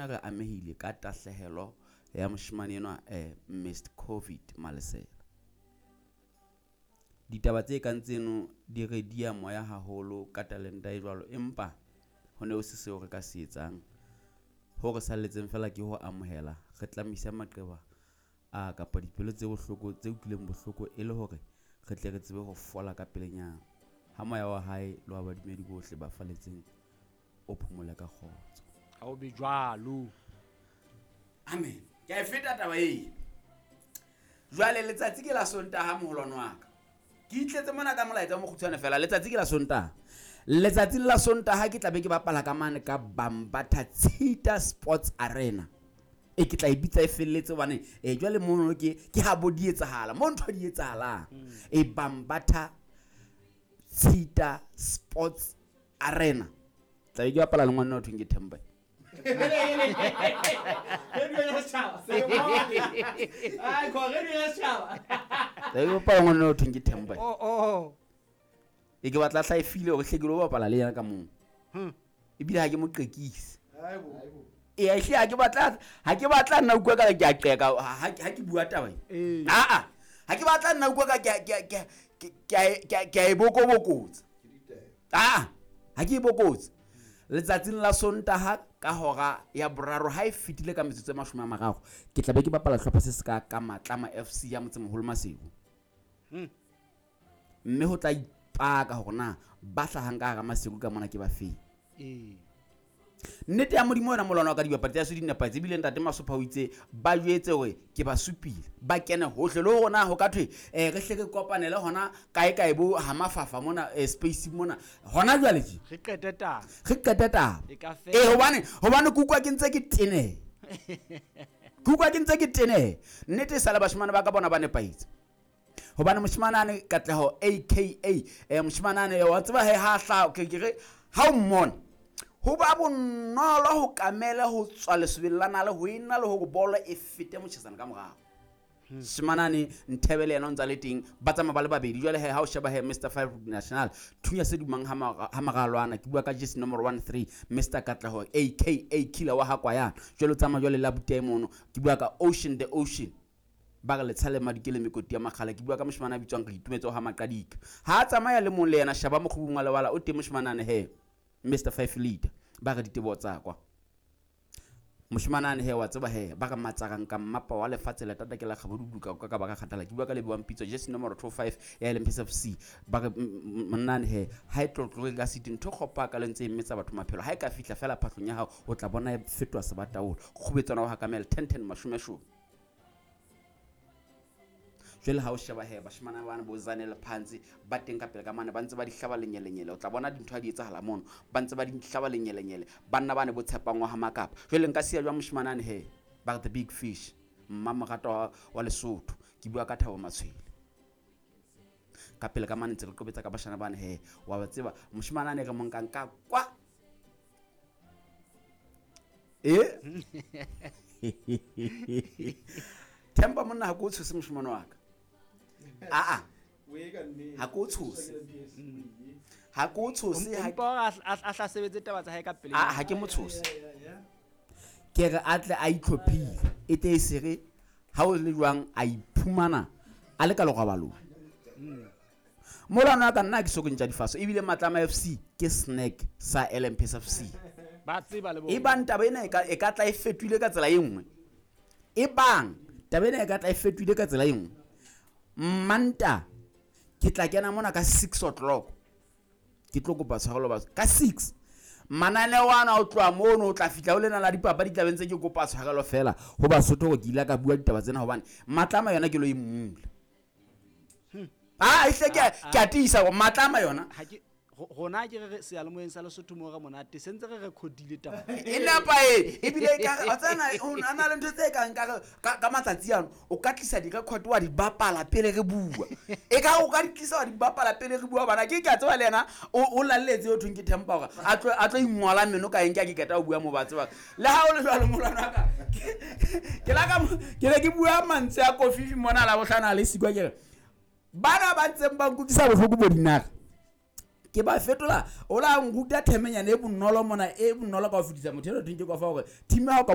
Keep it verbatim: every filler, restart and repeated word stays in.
rona re amehile ka tahlehelo ya moshemane enwa eh, Mister Covid Malesela. Ditaba tse kang tseno di re dia moya haholo ka talenta e jwalo, empa ho ne ho se seo re ka se etsang. Ho re salletseng fela ke ho amohela, re tlamisa maqeba a kapa dipelo tse bohloko tse utlwileng bohloko e le hore re tle re tsebe ho fola ka pelenyana. Ha moya wa hae le wa badumedi bohle ba faletseng o phomole ka kgotso. Ha o be jwalo. Amen. Ke a e feta taba e. Jwale letsatsi ke la Sontaha moholwane wa ka. Ke itletse mona ka molaetsa o mokgutshwane fela, letsatsi ke la Sontaha. Letsatsing la Sontaha ke tla be ke bapala ka mane ka Bambatha Tshita Sports Arena. E ke tla e bitsa e felletse hobane eh jwale mono ke ke ha bo di etsahala, mo ntho di etsahalang. E Bambatha Tshita Sports Arena. Tla be ke bapala le ngwana o thweng ke Themba. Tla be ke bapala ngwana o thweng ke Themba. Oh oh. E ke batla hla e file hore hle ke lo bapala le yena ka moo. Ebile ha ke mo qekise. E hle ha ke batla, ha ke batla nna utlwa ka ke a qeka ha ha ke bua taba e. A a. Ha ke batla nna utlwa ka ke ke ke ke ke a e bokobokotsa. A ha ke e bokotse. Letsatsing la Sontaha ka hora ya boraro ha e fetile ka metsotso e mashome a mararo, ke tla be ke bapala hlopha se se ka ka Matlama F C ya Motsemoholo Maseru. Mme ho tla ipaka hore na ba hlahang ka hara Maseru ka mona ke ba feng. Ee. Nnete ya Modimo yona molwana wa ka dibapadi tsa di nepahetse, ebile ntate Masopha o itse ba jwetse hore ke ba supile, ba kene hohle le hore na ho ka thwe eh re hle re kopanele hona kae kae bo ha mafafa mona eh, space mona hona jwale tje re qete taba, re qete taba e ka fela. Eh hobane hobane ke utlwa ke ntse ke tene, ke utlwa ke ntse ke tene. Nnete e sale bashemane ba ka bona ba nepahetse. Hobane moshemane ane Katleho A K A eh moshemane ane wa tseba he ha hla ke ke re ha o mmona ho ba bonolo ho kamela ho tswa lesobeng la nale ho ena le hore bolo e fete motjhesana ka morao. Shimanane Nthebe le yena o ntsa le teng, ba tsamaya ba le babedi. Jwale he ha o sheba he Mister Five National thunya se dumang ha maralwana, ke bua ka jersey number one three Mister Katleho A K A Killer wa ha Kwayana. Jwale o tsamaya jwale la buta e mono, ke bua ka Ocean the Ocean. Ba re letshale madikele mekoti ya makgala, ke bua ka moshemane a bitswang re itumetse ha Maqadika. Ha a tsamaya le mong le yena shaba mokgubung wa lebala o teng moshemane he Mister Five Leader, ba re ditebo tsa kwa. Moshemane ane he wa tseba he ba re matsarang ka mmapa wa lefatshe la tata ke la kgabodudu ka ka ba ka kgathala. Ke bua ka Lebohang Pitso jersey number two five ya L M P S F C. Ba re monna ane he ha e tlotloge ka siti ntho kgopa ka le ntse e metsa batho maphelo. Ha e ka fihla fela phahlong ya hao o tla bona e fetoha sebataolo. Kgubetswana wa Hakamela ten ten mashome shome. Jwale ha o sheba he bashemane bana bo Zanele Phantsi ba teng ka pele ka mane ba ntse ba di hlaba lenyelenyele, o tla bona dintho ha di etsahala mono ba ntse ba di hlaba lenyelenyele. Banna bane bo tshepang wa ha Makapa. Jwale nka siya jwang moshemane ane he ba re the big fish mma morato wa, wa Lesotho, ke bua ka Thabo Matshwele. Ka pele ka mane ntse re qobetsa ka bashana bane he wa ba tseba moshemane ane re mo nkang ka kwa e Themba monna ha ko tshose moshemane wa ka. Ah ah. Ha ko tshose. Ha ko tshose ha a hla sebetse taba tsa hae ka pele. Ah ha ke mo tshose. Ke re a tle a itlhophile e te e sere ha o le jwang a iphumana a le ka lerobalong. Molwana ka nna ke so ke ntja difaso ebile Matlama F C ke snack sa L M P S F C. Ba tseba le bona. E bang taba ena e ka e ka tla e fetohile ka tsela e nngwe. E bang taba ena e ka tla e fetohile ka tsela e nngwe. Manta ke tla kena mona ka six o'clock. Ke tlo kopa tshwarelo batho ka six. Mananeo ana o tloha mono o tla fihla o lena la dipapadi tla bentse ke kopa tshwarelo fela ho Basotho hore ke ile ka bua ditaba tsena hobane Matlama yona ke lo e mmula. Ah ehle ke ke a tiisa hore Matlama yona ha ke rona ke re seyalemoyeng sa Lesotho mo re monate se ntse re recordile taba e nepae ebile ka wa tsena o na le ntho tse kang ka ka matsatsi ano o ka tlisa di-record wa di bapala pele re bua e ka o ka di tlisa wa di bapala pele re bua bana ke ke a tseba le yena o lalletse o thweng ke Thempa hore a tlo a tlo ingwala meno ka eng ke a ke qeta ho bua mo ba tseba le ha o le jwalo molwana wa ka ke la ka ke ne ke bua mantswe a kofifi mona la bohlano a le sikwa ke re bana ba ntseng ba nkutlwisa bohloko bo dinaka ke ba fetola o la nruta themenyana e bonolo mona e bonolo ka ho fetisa motho eno thweng ke kofa hore team ya hao ka